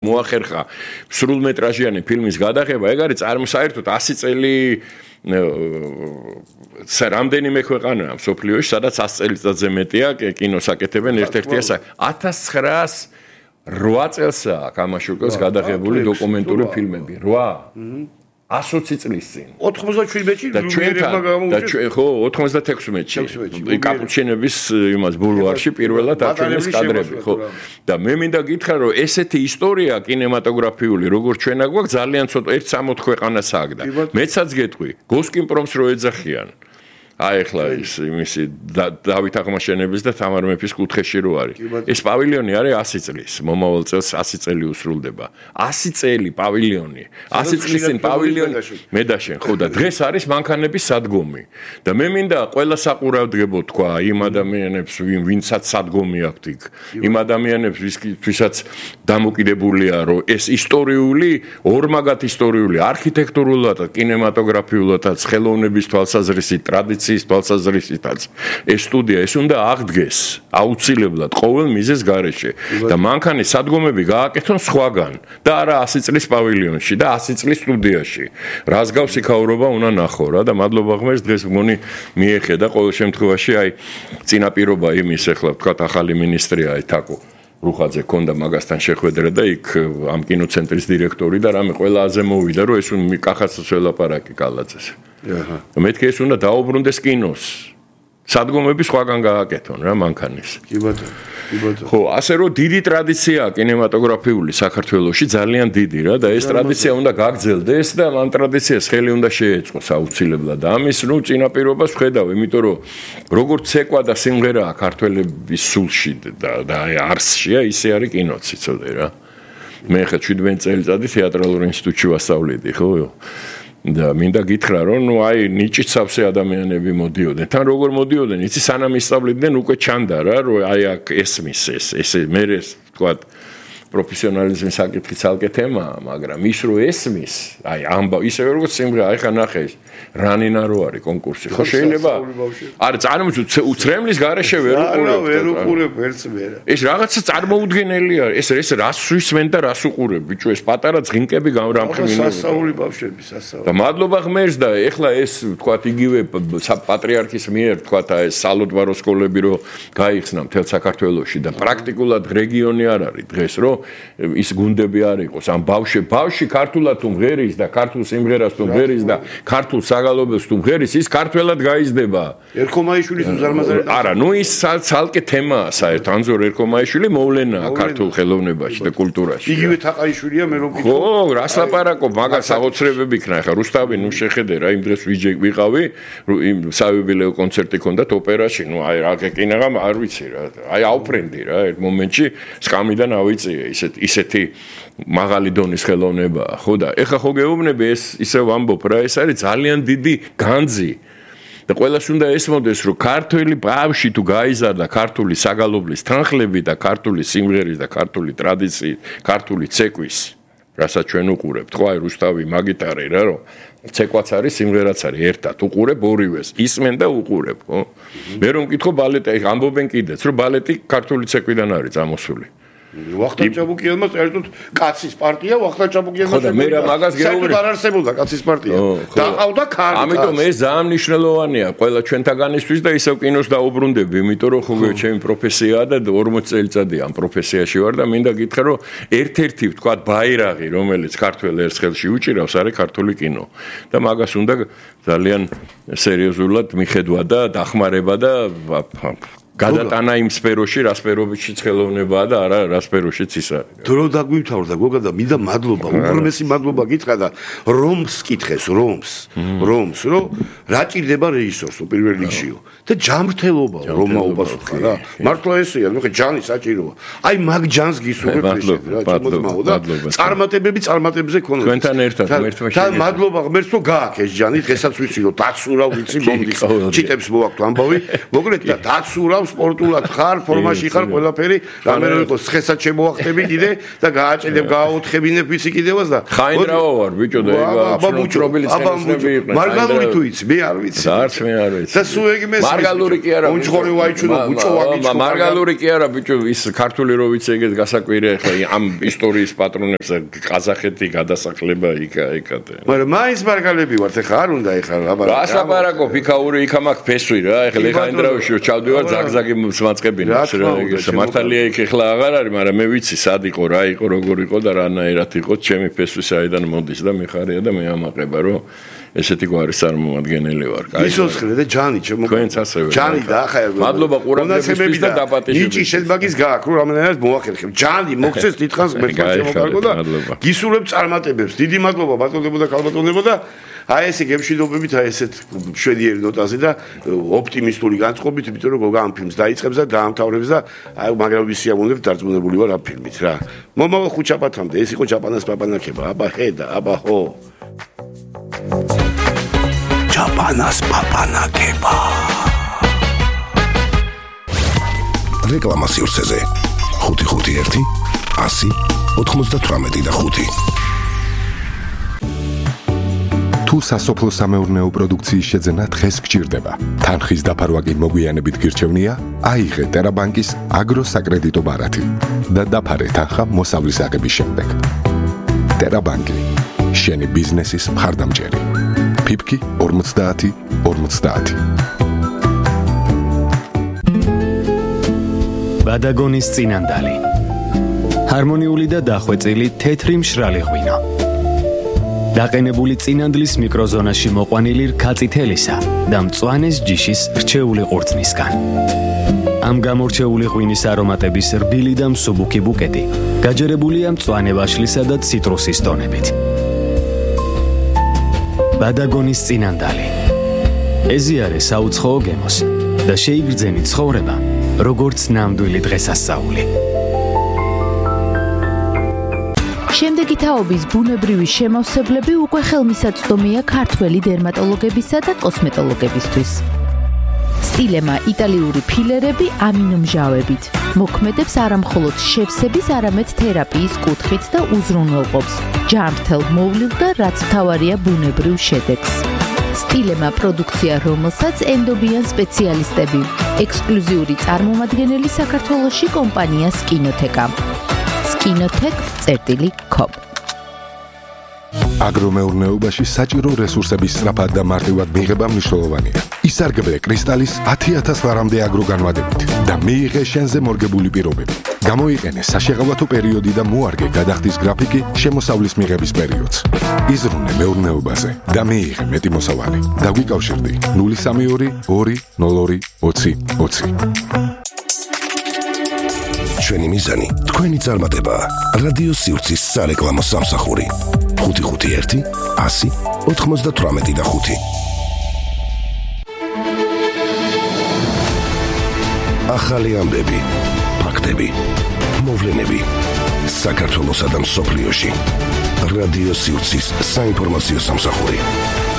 მოახერხა სრულმეტრაჟიანი ფილმის გადაღება, ეგ არის საერთოდ 100 წელი რამდენიმე ქვეყანაა მსოფლიოში, სადაც 100 წელიწადზე მეტია კინოს აკეთებენ ერთ-ერთია 1908 წელსაა კამაშუკელს გადაღებული დოკუმენტური ფილმები. 120 წლის წინ. 97-ში ლუმიერებმა გამოუჩინეს. ხო, 96-ში. კაპუჩინების იმას ბულვარში პირველად აჩვენეს კადრები, ხო. და მე მინდა გითხრა, რომ ესეთი ისტორია კინემატოგრაფიული, როგორც ჩვენა გვაქვს, ძალიან ცოტა 1-60 ქვეყანას ააგდა. მეცაც გეტყვი, გოსკინპრომს რო ეძახიან. აი ახლა ის იმისი დავით აღმაშენების და თამარ მეფის კუთხეში რო არის. ეს პავილიონი არის 100 წლის. მომავალ წელს 100 წელი უსრულდება. 100 წელი პავილიონი. 100 წლის წინ პავილიონი მედაშენ, ხო და დღეს არის მანქანების სადგომი. და მე მინდა ყველა საყურავდგებო თქვა იმ ადამიანებს, ვინცაც სადგომი აქვთ იქ. იმ ადამიანებს, ვისაც დამოკიდებულია, რომ ეს ისტორიული, ორმაგად ისტორიული, არქიტექტურულად, კინემატოგრაფიულად, ხელოვნების თვალსაზრისით, ტრადიციით თვალსაზრისითაც ეს სტუდია ეს უნდა აღდგეს აუცილებლად ყოველ მიზეს გარეშე და მანქანის სადგომები გააკეთონ სხვაგან და არა 100 წლის პავილიონში და 100 წლის სტუდიაში. რას გავს იქაურობა უნდა ნახო რა და მადლობა ღმერთს დღეს მგონი მიეხედა ყოველ შემთხვევაში აი წინაპირობა იმის ახლა ვთქვათ ახალი მინისტრია თაკო რუხაძე ქონდა მაგასთან შეხვედრა და იქ ამ კინოცენტრის დირექტორი და რამე ყველაზე მოვიდა რომ ეს კახაცს ველაპარაკი კალაძეს. მეთქე ეს უნდა დაუბრუნდეს კინოს. სადგომები სხვაგან გააკეთონ რა მანქანის. კი ბატონო, კი ბატონო. ხო, ასე რომ დიდი ტრადიციაა კინემატოგრაფიული საქართველოში, ძალიან დიდი რა და ეს ტრადიცია უნდა გაგრძელდეს და ამ ტრადიციას ხელი უნდა შეეწყოს აუცილებლად. ამის წინაპირობას ვხედავ, იმიტომ რომ როგორც ცეკვა და სიმღერაა ქართველების სულში და არსშია, ისე არის კინოც, იცოდე რა. მე ხა 17 წელიწადი თეატრალურ ინსტიტუტში ვასწავლიდი, ხო? და მინდა გითხრა რომ აი ნიჭით სავსე ადამიანები მოდიოდნენ. თან როგორ მოდიოდნენ, იცი სანამ ისწავლიდნენ უკვე ჩანდა რა, რომ აი აქ ესმის ეს მე თქვა პროფესიონალიზმის საკითხი ცალკე თემაა, მაგრამ ის რო ესმის, აი ამბა ისე როგორც სიმღერა, აი ხა ნახე ეს რანინა რო არის კონკურსი. ხო შეიძლება? არა, წარმოიდგინე უცრემლის garaშე ვერ უყურებ. ვერ უყურებ ერთს მე. ეს რაღაცა წარმოუდგენელი არის. ეს რას სვისმენ და რას უყურებ, ბიჭო, ეს პატარა ძღინკები გამრამხნინო. სასაული ბავშვები, სასაული. და მადლობა ღმერთს და ეხლა ეს თქვათ იგივე პატრიარქის მიერ თქვათ ეს სალოდვარო სკოლები რო გაიხსნა მთელ საქართველოში და პრაქტიკულად რეგიონი არ არის დღეს რო ის გუნდები არ იყოს ამ ბავშვი ქართულად თუ მღერის და ქართულ სიმღერას თუ მღერის და ქართულ საგალობელს თუ მღერის ის ქართველად გაიზრდება. ერქომაიშვილის უზარმაზარი არა, ნუ ის ცალკე თემაა საერთოდ ანზორ ერქომაიშვილი მოვლენაა ქართულ ხელოვნებაში და კულტურაში. იგივე თაყაიშვილია მე რომ ხო, რას ლაპარაკობ, მაგას აღოცრებები იქნა ხა რუსთავი, ნუ შეხედე რა იმ დღეს ვიყავი, იმ საიუბილეო კონცერტი ქონდათ ოპერაში, ნუ აი რა გეკინაღა არ ვიცი რა. აი აუფრენდი რა ერთ მომენტში სკამიდან ავიწიე ისეთი მაღალი დონის ხელოვნებაა, ხო და ეხა ხო გეუბნები ეს ისევ ამბობ რა, ეს არის ძალიან დიდი განძი. და ყველას უნდა ესმოდეს, რომ ქართველი ბავშვი თუ გაიზარდა ქართული საგალობლის თანხლები და ქართული სიმღერის და ქართული ტრადიციით, ქართული ცეკვის, რასაც ჩვენ უყურებთ, ხო აი რუსთავი მაგით არის რა, რომ ცეკვაც არის, სიმღერაც არის, ერთად უყურებ ორივეს, ისმენ და უყურებ, ხო? მე რომ მკითხო ბალეტი, ამბობენ კიდეც, რომ ბალეტი ქართული ცეკვიდან არის წამოსული. ვახტანგ ჭაბუკიანმა საერთოდ კაცის პარტია ვახტანგ ჭაბუკიანმა ხო და მე რა მაგას გეუბნები არ არსებობდა კაცის პარტია დაყავდა ქარი ამიტომ ეს ძალიან მნიშვნელოვანია ყველა ჩვენთაგანისთვის და ისევ კინოს დაუბრუნდები იმიტომ რომ ხო ჩემი პროფესიაა და 40 წელიწადია ამ პროფესიაში ვარ და მინდა გითხრა რომ ერთ-ერთი ვთქვათ ბაირაღი რომელიც ქართველ ერს ხელში უჭირავს არის ქართული კინო და მაგას უნდა ძალიან სერიოზულად მიხედვა და დახმარება და გადატანა იმ სფეროში, რა სფერობაშიც ხელოვნებაა და არა რა სფეროშიც ის არის. დრო დაგვითავდა გოგა და მინდა მადლობა, უღრმესი მადლობა გითხრა და რომს კითხეს, რომს, რომ რა ჭირდება რეჟისორს პირველ რიგშიო და ჯანმრთელობა, რომაობას ხარ რა. მართლა ესეა, ნუ ხე ჯანი საჭიროა. აი მაგ ჯანს გისურვებ რეჟისორ რა, ჩემოწმაო და წარმატებებზე ქონდა. თქვენთან ერთად ერთმანეთს. და მადლობა ღმერთს რომ გააკეთე ჯანი, დღესაც ვიცი რომ დაცურავ ვიცი მომდის. ჩიტებს მოაქვს ამბავი, მოგლეთ და დაცურავ სპორტულად ხარ, ფორმაში ხარ, ყველაფერი, რამე რო იყოს, ცხესაც შემოახტები კიდე და გააჭედებ, გააოთხებინებ ვიცი კიდევაც და ხაინდრავა ვარ, ბიჭო და ეგ ცნობილი ცხენოსნები იყვნენ. მარგალური თუ იცი, მე არ ვიცი. არც მე არ ვიცი. და სულ ეგ მესმის. მარგალური კი არა. უნჩხორი ვაიჩუნო, ბუჭო ვაგიჩქო. მარგალური კი არა, ბიჭო, ის ქართული რო ვიცი ეგეთ გასაკვირია ხა ამ ისტორიის პატრონებს ყაზახეთი გადასახლება იქ-იქ. მაგრამ მაინც მარგალები ვართ, ეხა არ უნდა ეხა აბა. გასაპარაკო ფიქაური იქა მაქვს ფესვი რა, ეხლა ლეხაინდრავში ჩავდივარ ზაგზაგი მაწყებინებს რა, ეგ მართალია იქ ეხლა აღარ არის, მაგრამ მე ვიცი სად იყო, რა იყო, როგორ იყო და რანაირად იყო, ჩემი ფესვი საიდან მოდის და მიხარია და მე ამაყება რომ ესეთი გვარის წარმომადგენელი ვარ. ისოცხლე და ჯანი ჩემო. თქვენც ასევე. ჯანი და ახლა მადლობა ყურადღებისთვის და დაპატიჟებისთვის. ნიჭი შენბაგის გააქვს, რომ რამდენად მოახერხებ. ჯანი მოგცეს დიდხანს მერტყა შემოგარგო და გისურვებ წარმატებებს. დიდი მადლობა ბატონებო და ქალბატონებო და აი ესე გემშვიდობებით აი ესეთ შვედიერი ნოტაზე და ოპტიმისტური განწყობით, იმიტომ რომ გოგა ამ ფილმს დაიწყებს და დაამთავრებს და აი მაგრამ ვისიამოვნებთ დარწმუნებული ვარ ამ ფილმით რა. მომავალ ხუჩაპათამდე ეს იყო ჩაპანას პაპანაკება. აბა ხედა, აბა ხო. ჩაპანას პაპანაკება. რეკლამა სივრცეზე 551 100 98 და 5. თუ სასოფლო სამეურნეო პროდუქციის შეძენა დღეს გჭირდება, თანხის დაფარვა კი მოგვიანებით გირჩევნია, აიღე ტერაბანკის აგროსაკრედიტო ბარათი და დაფარე თანხა მოსავლის აღების შემდეგ. ტერაბანკი, შენი ბიზნესის მხარდამჭერი. ფიფკი 50 50. ბადაგონის წინანდალი. ჰარმონიული და დახვეწილი თეთრი მშრალი ღვინო. დაყენებული წინანდლის მიკროზონაში მოყვანილი რქაწითელისა და მწვანეს ჯიშის რჩეული ყურძნისგან. ამ გამორჩეული ღვინის არომატების რბილი და მსუბუქი ბუკეტი გაჯერებულია მწვანე ვაშლისა და ციტრუსის ტონებით. ბადაგონის წინანდალი. ეზიარე საუცხოო გემოს და შეიგრძენი ცხოვრება, როგორც ნამდვილი დღესასწაული. შემდეგი თაობის ბუნებრივი შემავსებლები უკვე ხელმისაწვდომია ქართველი დერმატოლოგებისა და კოსმეტოლოგებისთვის. სტილემა იტალიური ფილერები ამინომჟავებით. მოქმედებს არამხოლოდ შევსების, არამედ თერაპიის კუთხით და უზრუნველყოფს ჯანმრთელ მოვლილ და რაც მთავარია ბუნებრივ შედეგს. სტილემა პროდუქცია, რომელსაც ენდობიან სპეციალისტები. ექსკლუზიური წარმომადგენელი საქართველოში კომპანია სკინოთეკა. skinotech.com. აგრომეურნეობაში საჭირო რესურსების სწრაფად და მარტივად მიღება მნიშვნელოვანია. ისარგებლე კრისტალის 10,000 ლარამდე აგროგანვადებით და მიიღე შენზე მორგებული პირობები. გამოიყენე საშეღავათო პერიოდი და მოარგე გადახდის გრაფიკი შემოსავლის მიღების პერიოდს. იზრუნე მეურნეობაზე და მიიღე მეტი მოსავალი. დაგვიკავშირდი 032 202 20 20. ჩვენი მიზანი თქვენი წარმატება. რადიო სივრცის სარეკლამო სამსახური 551 100 98 და 5. ახალი ამბები, ფაქტები, მოვლენები საქართველოსა და მსოფლიოში. რადიო სივრცის საინფორმაციო სამსახური.